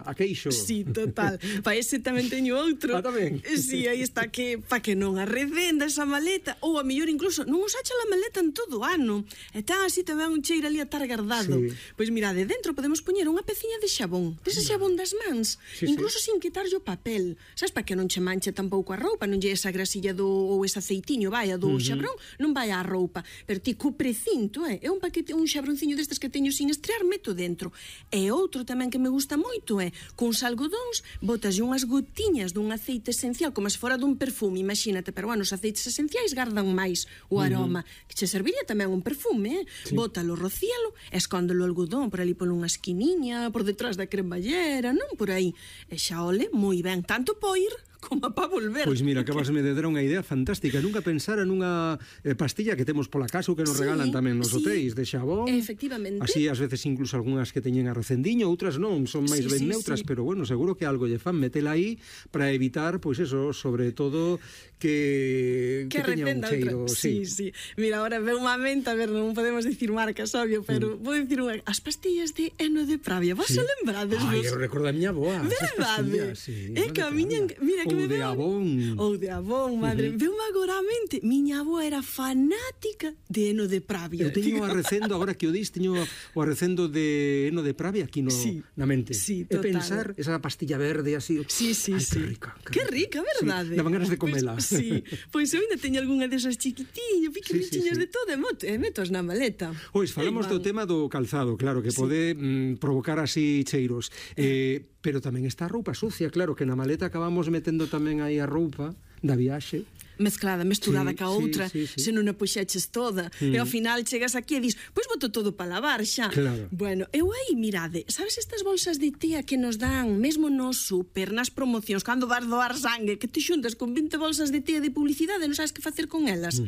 a queixo. Sí, total. Pa ese tamén teño outro. Tamén? Sí, aí está que pa que non arredenda esa maleta, ou a mellor incluso non usacha a maleta en todo o ano. E tan así tamén un cheiro ali a tar guardado. Sí. Pois mirade, dentro podemos poñer unha peciña de xabón, dese xabón das mans, incluso sin quitarlle o papel. Sabes, pa que non che manche tampouco a roupa, non lle esa grasilla ou ese aceitiño, vai, do xabrón, non vai á roupa. Pero ti co precinto, é un paquete, un xabronciño destes que teño sin estrear, meto dentro. E outro tamén que me gusta moito é, cuns algodóns, botas unhas gotiñas dun aceite esencial, como se fora dun perfume, imagínate, pero bueno, os aceites esenciais gardan máis o aroma, que che serviría tamén un perfume, bótalo, rocíalo, escóndelo o algodón por ali por unha esquiniña, por detrás da cremallera, non por aí. E xa ole, moi ben, tanto po ir como para volver. Pois mira, acabasme de dar unha idea fantástica. Nunca pensara nunha pastilla que temos pola casa ou que nos regalan tamén nos hotéis de xabón. Efectivamente. Así, ás veces, incluso algunhas que teñen a recendiño, outras non, son máis ben neutras, pero bueno, seguro que algo lle fan metela aí para evitar, pois eso, sobre todo que teña un cheiro. Sí. Mira, ahora veo unha menta, a ver, non podemos dicir marcas, obvio, pero vou dicir unha, as pastillas de heno de Pravia, vos se lembrades? Ai, eu recordo a miña aboa. Verdade? É que a miña, mira, que ou de Avon. Ou de Avon, madre. Veu-me agora a mente. Miña avó era fanática de heno de Pravia. Eu teño o arrecendo, agora que o dis, teño o arrecendo de heno de Pravia aquí na mente. Sí, total. E pensar, esa pastilla verde así. Sí. Ai, que rica. Que rica, verdade? Sí, daban ganas de comela. Sí, pois eu ainda teño algunha desas chiquitiñas, pequeniñas de todo, e metos na maleta. Pois falamos do tema do calzado, claro, que pode provocar así cheiros. Pero tamén está a roupa sucia, claro, que na maleta acabamos metendo tamén aí a roupa da viaxe. Mesturada ca outra, se non a puxeches toda, e ao final chegas aquí e dis, pois boto todo para lavar xa. Claro. Bueno, eu aí, mirade, sabes estas bolsas de tía que nos dan mesmo no súper, nas promocións, cando vas doar sangue, que te xuntas con 20 bolsas de tía de publicidade e non sabes que facer con elas?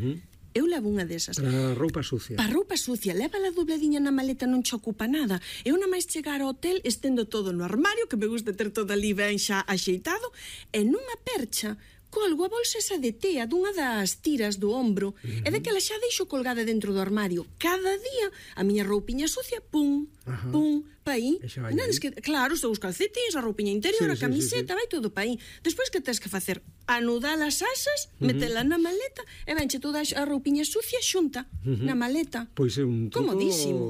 Eu levo unha desas. Para roupa sucia. Para roupa sucia, lévala dobladiña na maleta, non che ocupa nada. Eu na máis chegar ao hotel, estendo todo no armario, que me gusta ter todo ali ben xa axeitado, e nunha percha colgo a bolsa esa de tea dunha das tiras do ombro e daquela xa deixo colgada dentro do armario. Cada día a miña roupiña sucia, pum, pa aí. Claro, os calcetins, a roupiña interior, a camiseta, vai todo pa aí. Despois que tens que facer? Anudar as asas, metela na maleta e venche toda a roupiña sucia xunta na maleta. Pois é un truco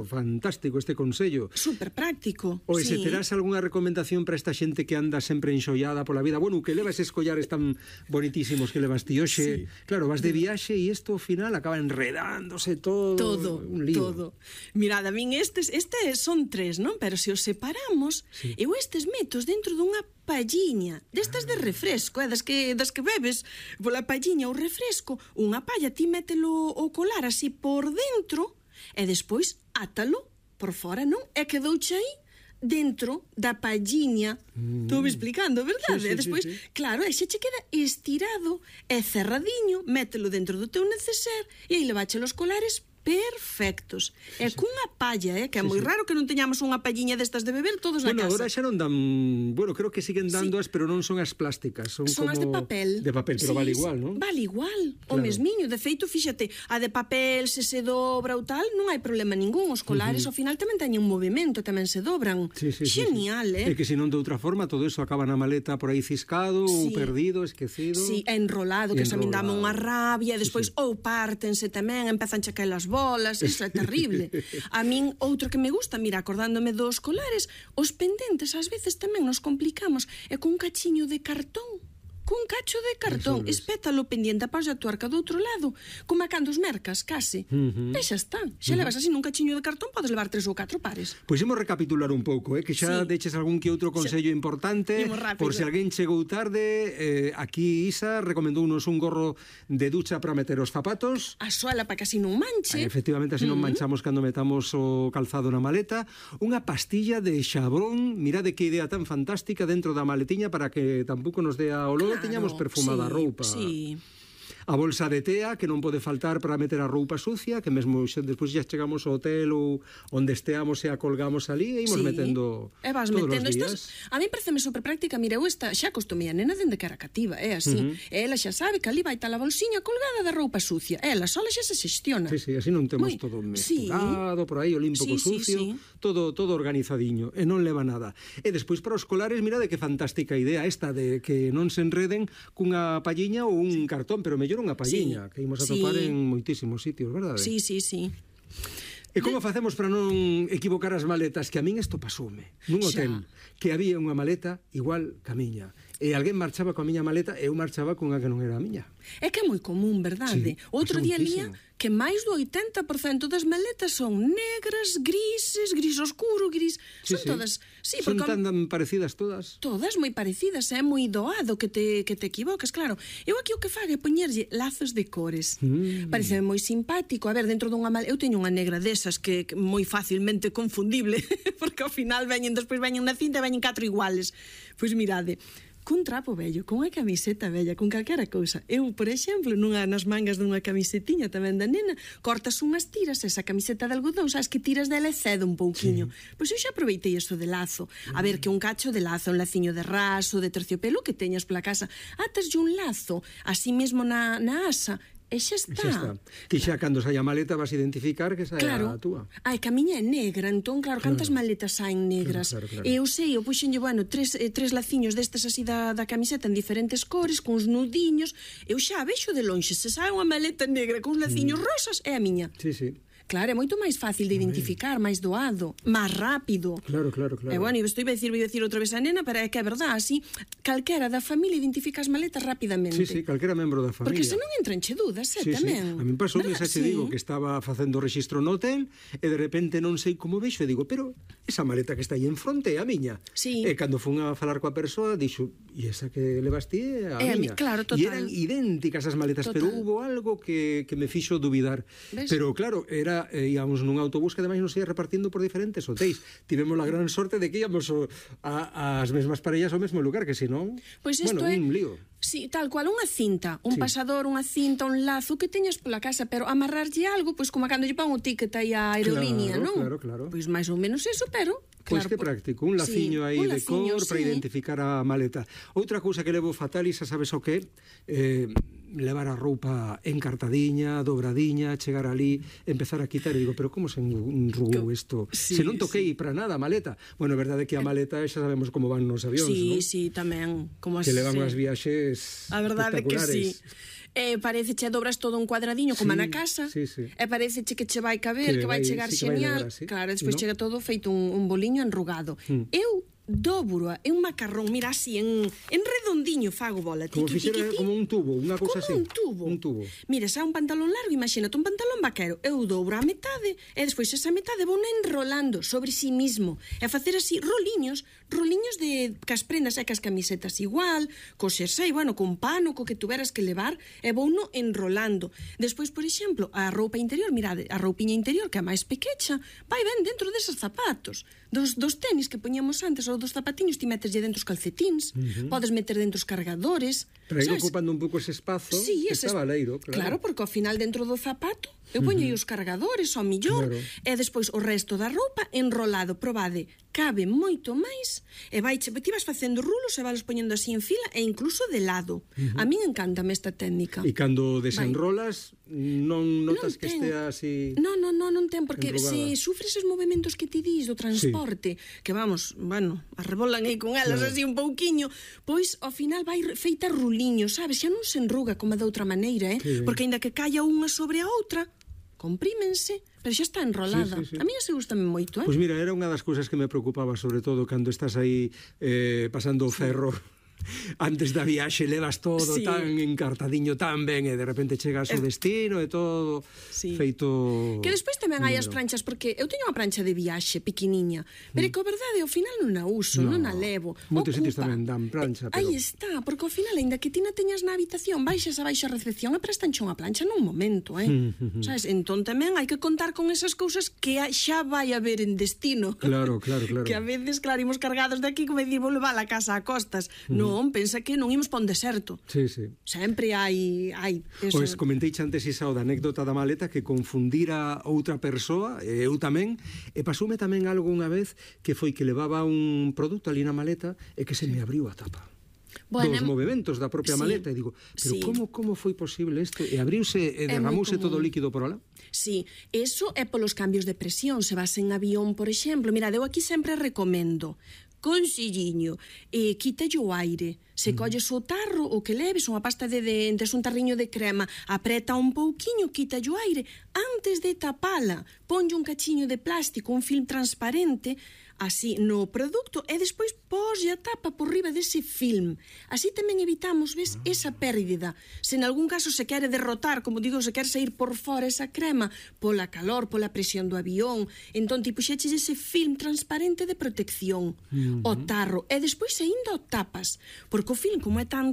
fantástico este consello. Super práctico. Oe, se terás algunha recomendación para esta xente que anda sempre enxollada pola vida, bueno, que leva eses collares tan bonitísimos que levas ti hoxe, claro, vas de viaxe e isto ao final acaba enredándose todo. Un lío. Todo. Mirad, a min estes son 3, non? Pero se os separamos, eu estes metos dentro dunha palliña, destas de refresco, das que bebes pola palliña ou refresco, unha palla, ti mételo o colar así por dentro e despois átalo por fora, non? E quedouche aí dentro da palliña. Estou me explicando, verdade? E despois, claro, e xa che queda estirado e cerradiño, mételo dentro do teu neceser e aí levache os colares perfectos. E cunha palla, que é moi raro que non teñamos unha palliña destas de beber todos na casa. Bueno, agora xa non dan, bueno, creo que siguen dándoas, pero non son as plásticas, son como as de papel. De papel, pero vale igual, non? Vale igual, o mesmiño. De feito, fíxate, a de papel se dobra ou tal, non hai problema ningún. Os colares ao final tamén teñen un movimento, tamén se dobran. Genial, É que senón de outra forma todo eso acaba na maleta por aí ciscado ou perdido, esquecido. Sí, enrolado, que xa me dame unha rabia, despois ou pártense tamén, empezan a caer as bolas, iso é terrible. A min, outro que me gusta, mira, acordándome dos colares, os pendentes ás veces tamén nos complicamos, e con un cachiño de cartón, cun cacho de cartón, espétalo pendiente a pausa da tuerca do outro lado, como a cando os mercas, case. E xa está. Xa levas así nun cachiño de cartón, podes levar 3 ou 4 pares. Pois imos recapitular un pouco, que xa deches algún que outro consello importante, por se alguén chegou tarde. Aquí Isa recomendounos un gorro de ducha para meter os zapatos, a sola para que así non manche. Efectivamente, así non manchamos cando metamos o calzado na maleta. Unha pastilla de xabrón, mirade que idea tan fantástica, dentro da maletiña para que tampouco nos dea olor, teñamos perfumada a roupa. a bolsa de tea que non pode faltar para meter a roupa sucia, que mesmo despois xa chegamos ao hotel ou onde esteamos e a colgamos ali e imos metendo todos os días. A mí pareceme super práctica, mira, eu xa acostumei a nena dende que era cativa, é así. Ela xa sabe que ali vai tal a bolsiña colgada da roupa sucia. Ela sola xa se xestiona. Sí, así non temos todo mesturado por aí, o limpo co sucio, todo organizadiño e non leva nada. E despois para os colares, mira de que fantástica idea esta de que non se enreden cunha palliña ou un cartón, pero mellor unha palliña, que imos a topar en moitísimos sitios, verdade? Sí. E como facemos para non equivocar as maletas? Que a min isto pasoume nun hotel, que había unha maleta igual que a miña. E alguén marchaba coa miña maleta e eu marchaba cunha que non era a miña. É que é moi común, verdade? Outro día lía que máis do 80% das maletas son negras, grises, gris oscuro, gris... Son todas... Son tan parecidas todas. Todas moi parecidas, é moi doado que te equivocas, claro. Eu aquí o que fago é poñerlle lazos de cores. Parece moi simpático. A ver, dentro dunha maleta... Eu teño unha negra desas que moi facilmente confundible, porque ao final despois veñen na cinta e veñen 4 iguales. Pois mirade... cun trapo vello, con unha camiseta vella, con calquera cousa. Eu, por exemplo, nas mangas dunha camisetiña tamén da nena, cortas unhas tiras, esa camiseta de algodón, sabes que tiras dela e cede un pouquiño. Pois eu xa aproveitei isto de lazo. A ver, que un cacho de lazo, un laciño de raso, de terciopelo que teñas pola casa, ataslle un lazo, así mesmo na asa, e xa está. Que xa cando saia a maleta vas a identificar que saia a túa. Ai, que a miña é negra, entón, claro, cantas maletas saen negras. E eu sei, eu puxenlle, tres laciños destes así da camiseta en diferentes cores, cuns nudiños, eu xa vexo de lonxe, se sae unha maleta negra con uns laciños rosas, é a miña. Sí. Claro, é moito máis fácil de identificar, máis doado, máis rápido. Claro. E bueno, estou a dicir outra vez a nena, pero é que é verdade, así, calquera da familia identifica as maletas rapidamente. Sí, calquera membro da familia. Porque senón entran che dudas, tamén. A mí pasou xa te digo que estaba facendo registro no hotel e de repente non sei como vexo e digo, pero esa maleta que está aí en fronte é a miña. E cando fun a falar coa persoa, dixo, e esa que levas ti é a miña. Claro, total. E eran idénticas as maletas, pero hubo algo que me fixo dubidar. Pero claro, íamos nun autobús que ademais nos ia repartindo por diferentes hotéis. Tivemos a gran sorte de que íamos ás mesmas parellas ao mesmo lugar, que senón, un lío. Sí, tal cual, unha cinta, un pasador, unha cinta, un lazo que teñas pola casa, pero amarrarlle algo, pois como cando lle pon o ticket aí a aerolínea, non? Claro. Pois máis ou menos eso, pero... Pois que práctico, un laciño aí de cor para identificar a maleta. Outra cousa que levo fatal, e xa sabes o que levar a roupa encartadiña, dobradiña, chegar ali, empezar a quitar, e digo, pero como se enrugou isto? Se non toquei para nada a maleta. Bueno, é verdade que a maleta xa sabemos como van nos avións, non? Sí, tamén. Que levan as viaxes espectaculares. A verdade que sí. Parece che dobras todo un cuadradiño como na casa, e parece che que che vai caber, que vai chegar xenial, claro, despois chega todo feito un boliño enrugado. Eu dobro é un macarrón, mira así, en redondiño fago bola. Como fixera como un tubo, unha cousa así. Como un tubo. Mira, xa un pantalón largo, imagínate un pantalón vaquero, eu dobro a metade, e despois esa metade vou enrolando sobre si mismo, e facer así roliños de cas prendas e cas camisetas igual, co xersei, con pano, co que tuveras que levar, e vou no enrolando. Despois, por exemplo, a roupa interior, mirade, a roupiña interior, que é máis pequecha, vai ben dentro deses zapatos, dos tenis que poñíamos antes, ou dos zapatiños, ti meteslle dentro os calcetíns, podes meter dentro os cargadores. Pero aí ocupando un pouco ese espazo, que está valeiro, claro. Claro, porque ao final dentro do zapato eu poño os cargadores, ao millor, e despois o resto da roupa enrolado, probade, cabe moito máis, e ti vas facendo rulos e vas poñendo así en fila e incluso de lado. A min encántame esta técnica. E cando desenrolas, non notas que estea así... Non ten, porque se sufres os movimentos que ti dis do transporte, que arrebolan aí con elas así un pouquiño, pois ao final vai feita ruliño, sabes? Xa non se enruga como de outra maneira, porque aínda que caia unha sobre a outra, comprímense, pero xa está enrolada. A mí se gustame moito, Pois mira, era unha das cousas que me preocupaba, sobre todo cando estás aí pasando o ferro antes da viaxe, levas todo tan encartadiño, tan ben, e de repente chegas ao destino e todo feito... Que despois tamén hai as pranchas, porque eu teño unha prancha de viaxe pequeniña, pero que a verdade, ao final non a uso, non a levo. Moitos sitios tamén dan prancha, pero... Aí está, porque ao final, ainda que ti na teñas na habitación, baixas a baixa recepción e prestanche unha plancha nun momento, sabes? Entón tamén hai que contar con esas cousas que xa vai haber en destino. Claro. Que a veces, claro, imos cargados de aquí, como dicir, vou levar a casa a costas. Non, Non, pensa que non imos pa un deserto. Sí, sí. Sempre hai eso. Pois comentei antes iso da anécdota da maleta que confundira outra persoa, eu tamén, e pasoume tamén algo unha vez que foi que levaba un produto ali na maleta e que se me abriu a tapa. Dos movimentos da propia maleta, e digo, pero como foi posible isto? E abriuse e derramouse todo o líquido por alá? Sí, eso é polos cambios de presión. Se vas en avión, por exemplo, mira, eu aquí sempre recomendo conselliño, quítalle o aire. Se colles o tarro, o que leves, unha pasta de dentes, un tarriño de crema, apreta un pouquiño, quítalle o aire. Antes de tapala, ponlle un cachiño de plástico, un film transparente, así no produto, e despois poslle a tapa por riba dese film. Así tamén evitamos, ves, esa pérdida. Se en algún caso se quere derrotar, como digo, se quere sair por fora esa crema, pola calor, pola presión do avión, entón ti puxeches ese film transparente de protección, o tarro, e despois aínda o tapas, porque o film, como é tan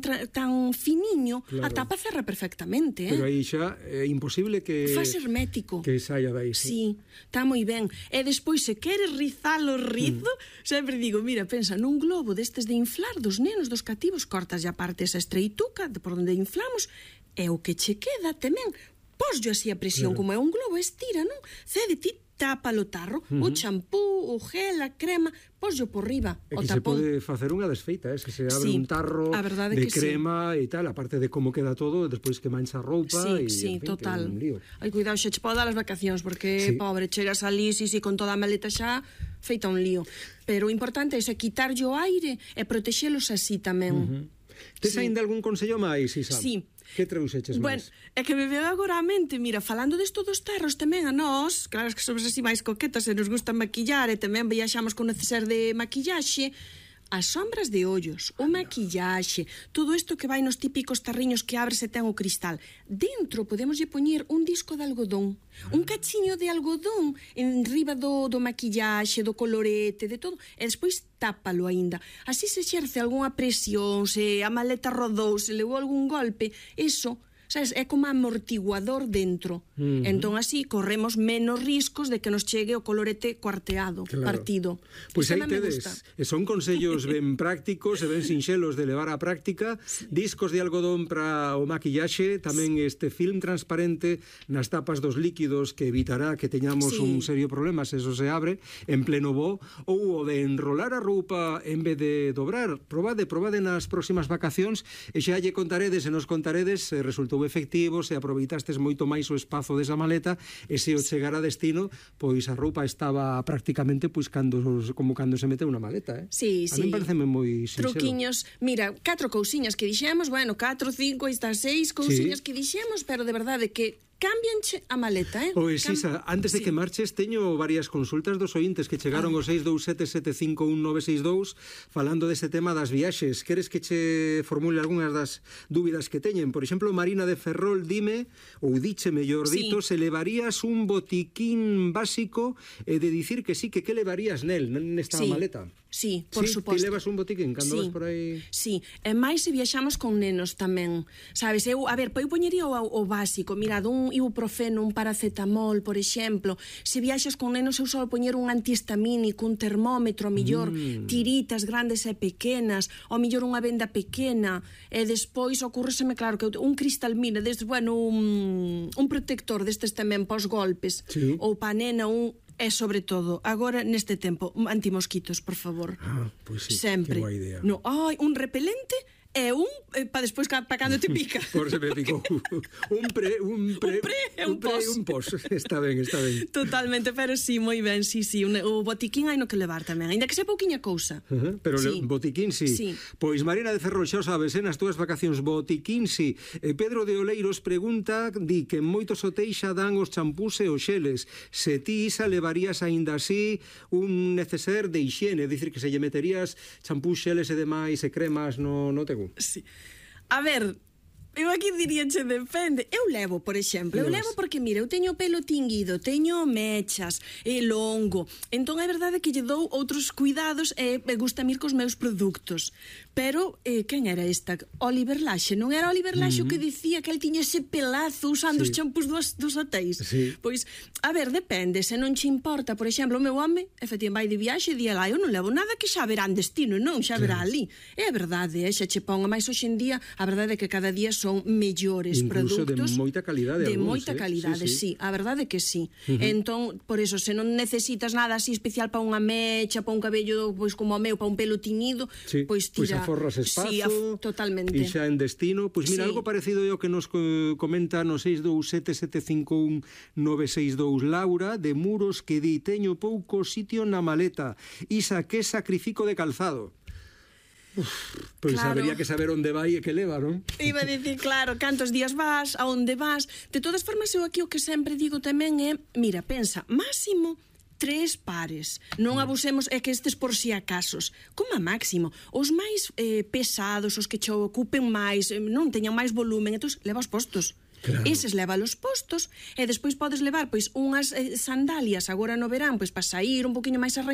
finiño, a tapa cerra perfectamente, Pero aí xa é imposible que... Faz hermético. Que saia dai, sí. Está moi ben. E despois, se queres rizalo rizo, sempre digo, mira, pensa nun globo destes de inflar dos nenos, dos cativos, cortas ya parte esa estreituca de por onde inflamos, e o que che queda tamén, poslle así a presión, como é un globo, estira, non? Cede ti, tapa o tarro, o champú, o gel, a crema, poslle por riba, o tapón. E que se pode facer unha desfeita, se se abre un tarro de crema e tal, aparte de como queda todo, despois que mancha a roupa e, sí, en fin, total. Que é un lío. Ai, cuidado, xa che pode dar as vacacións, porque, pobre, chegas ali, con toda a maleta xa, feita un lío. Pero o importante é quitarlle o aire e protexelos así tamén. Tes aínda algún consello máis, Isa? Sí. Que trouxeches máis? Bueno, é que me veo agora a mente, mira, falando desto dos tarros tamén a nós, claro que somos así máis coquetas e nos gusta maquillar e tamén viaxamos con neceser de maquillaxe, as sombras de ollos, o maquillaxe, todo isto que vai nos típicos tarriños que abres e ten o cristal. Dentro podemos lle poñer un disco de algodón, un cachiño de algodón en riba do maquillaxe, do colorete, de todo, e despois tápalo aínda. Así se exerce algunha presión, se a maleta rodou, se levou algún golpe, eso... sabes, é como amortiguador dentro. Entón así corremos menos riscos de que nos chegue o colorete cuarteado, partido. Pois aí tedes, son consellos ben prácticos e ben sinxelos de levar á práctica, discos de algodón para o maquillaxe, tamén este film transparente nas tapas dos líquidos que evitará que teñamos un serio problema se eso se abre en pleno voo, ou o de enrolar a roupa en vez de dobrar. Probade nas próximas vacacións e xa lle contaredes e nos contaredes se resultou efectivo, se aproveitastes moito máis o espazo desa maleta e se o chegar a destino, pois a roupa estaba prácticamente como cando se meteu na maleta, Sí, a mí pareceme moi sinxelo. Truquiños, mira, 4 cousiñas que dixemos, 4, 5, hasta 6 cousiñas que dixemos, pero de verdade que cámbianche a maleta, Pois, Isa, antes de que marches, teño varias consultas dos ointes que chegaron ao 627751962 falando deste tema das viaxes. Queres que che formule algunhas das dúbidas que teñen? Por exemplo, Marina de Ferrol dime, ou diche mellor dito, se levarías un botiquín básico de dicir que sí, que levarías nesta maleta? Sí, por suposto. Ti levas un botiquín cando vas por aí? Sí, e máis se viaxamos con nenos tamén. Sabes, eu poñería o básico, mira, un ibuprofeno, un paracetamol, por exemplo. Se viaxas con nenos, eu só poñer un antihistamínico, un termómetro, a millor tiritas grandes e pequenas, ao millor unha venda pequena, e despois ocurreseme, claro, que un cristalmina, un protector destes tamén pos golpes, ou pa nena, e sobre todo, agora neste tempo, antimosquitos, por favor. Pois sí, sempre. Que boa idea. Un repelente e para despois para cando te pica. Por se me picou. Un pos. Está ben. Totalmente, pero sí, moi ben, sí. O botiquín hai no que levar tamén, ainda que sea pouquiña cousa. Pero botiquín sí. Pois Marina de Ferrol, xa sabes, nas túas vacacións botiquín sí. Pedro de Oleiros pregunta, di que en moitos hotéis xa dan os champús e os xeles. Se ti, Isa, levarías aínda así un neceser de hixiene, dicir que se lle meterías champús, xeles e demais e cremas no teu? Sí. A ver, Eu aquí diríache depende. Eu levo, por exemplo, porque, mira, eu teño o pelo tinguido, teño mechas, longo, entón é verdade que lle dou outros cuidados e gusta ir cos meus produtos. Pero, quen era esta? Oliver Laxe, non era Oliver Laxe o que dicía que el tiña ese pelazo usando os champús dos hotéis? Pois, a ver, depende, se non che importa, por exemplo, o meu home, efectivamente, vai de viaxe e di lá, eu non levo nada que xa verán destino, non, xa verá ali. É verdade, xa che pon, máis hoxe en día, a verdade é que cada día son mellores incluso produtos. de moita calidade. De moita calidade, sí, a verdade é que sí. Entón, por eso, se non necesitas nada así especial para unha mecha, para un cabello, pois como o meu, para un pelo tiñido, pois tira... Pois aforras espazo. Sí, totalmente. E xa en destino, pois mira, algo parecido ao que nos comenta no 627751962 Laura, de Muros, que di, teño pouco sitio na maleta, isa que sacrifico de calzado. Pois habería que saber onde vai e que leva, non? Iba a dicir, claro, cantos días vas, a onde vas. De todas formas, eu aquí o que sempre digo tamén é, mira, pensa, máximo 3 pares. Non abusemos, é que estes por si acasos. Como a máximo. Os máis pesados, os que che ocupen máis, non teñan máis volumen, entón leva os postos. Claro. Eses leva los postos e despois podes levar pois unhas sandalias agora no verán pois para sair un poquinho máis arranxadas